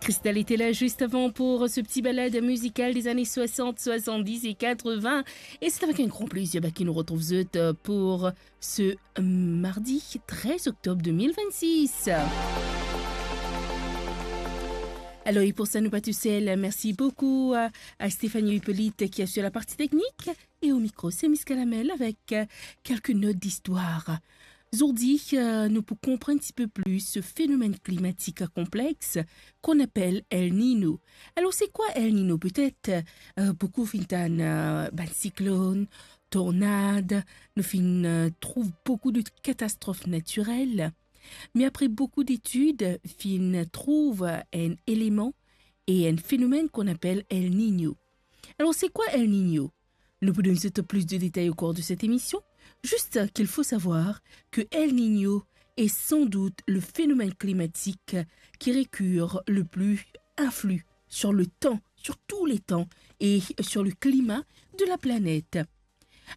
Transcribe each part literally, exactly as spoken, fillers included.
Cristal était là juste avant pour ce petit balade musicale des années soixante, soixante-dix et quatre-vingts. Et c'est avec un grand plaisir, bah, ki nou retrouv zot, euh, pour ce, euh, mardi treize octobre deux mille vingt-six. Alors, et pour ça, nou pa tousel. Merci beaucoup à, à Stéphanie Hippolyte qui assure la partie technique. Et au micro, c'est Miss Calamel avec, euh, quelques notes d'histoire. Zordi, euh, nou pou konprann un petit peu plus ce phénomène climatique complexe qu'on appelle El Niño. Alors, c'est quoi El Niño? Peut-être, euh, boukou finn tann, euh, bann siklonn, tornad, nou finn, euh, trouv boukou de catastrophes naturelles. Mais après beaucoup d'études, finn trouv un élément et un phénomène qu'on appelle El Niño. Alors, c'est quoi El Niño? Nou pou donn zot plus de détails au cours de cette émission. Juste qu'il faut savoir que El Niño est sans doute le phénomène climatique qui récure le plus influe sur le temps, sur tous les temps et sur le climat de la planète.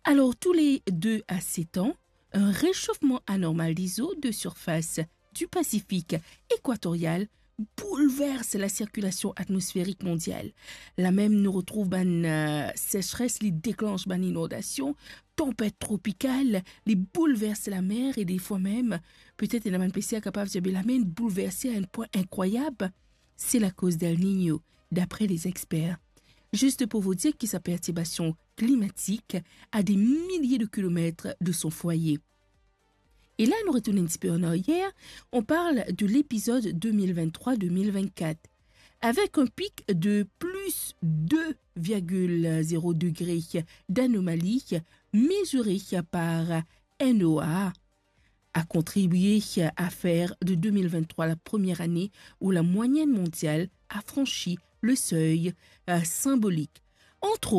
Alors, tous les deux à sept ans, un réchauffement anormal des eaux de surface du Pacifique équatorial bouleverse la circulation atmosphérique mondiale. La mem nou retrouv bann, euh, sécheresse, li deklanch bann inondasyon, tanpet tropikal, li bouleverse lamer e defwa mem, petet ena bann pesier kapav dir, be lamer inn bouleverse à un point incroyable. C'est la cause d'El Niño, d'après les experts. Juste pour vous dire que sa perturbation climatique à des milliers de kilomètres de son foyer. Et là, nou retourn un petit peu en arrière, on parle de l'épisode deux mille vingt-trois deux mille vingt-quatre, avec un pic de plus deux virgule zéro degrés d'anomalie mesurée par NOAA, a contribué à faire de deux mille vingt-trois la première année où la moyenne mondiale a franchi le seuil, euh, symbolique. Entre